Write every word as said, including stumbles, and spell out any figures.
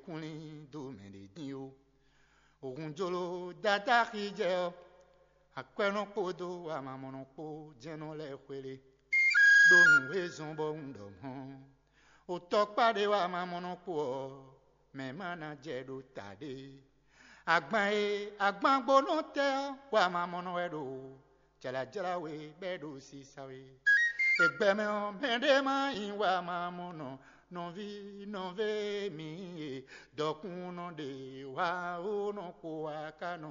kúnlín dó mɛ ɖě dín ó. Òhun jló dádáxi jɛ ɔ́, akwɛ́nɔ kpódó amamɔnɔ kpó jɛ́n nɔ lɛ́ xwelé, ɖó nǔ e zɔ́n bɔ un ɖɔ mɔ̌. Otɔ́kpá ɖé wá amamɔnɔ kpó ɔ́, mɛ ma ná jɛ ɖó ta ɖé. Agban e agbangbónɔ tɛ́ ɔ́, wá amamɔnɔ wɛ ɖo jlǎjlá we bɛ́ ɖo sisa we. Egbɛmɛ ɔ́, mɛɖé má nyí wá amamɔnɔ, nɔví nɔvé mǐ e dɔkunnɔ ɖe wá ó nɔ xo wá ká nɔ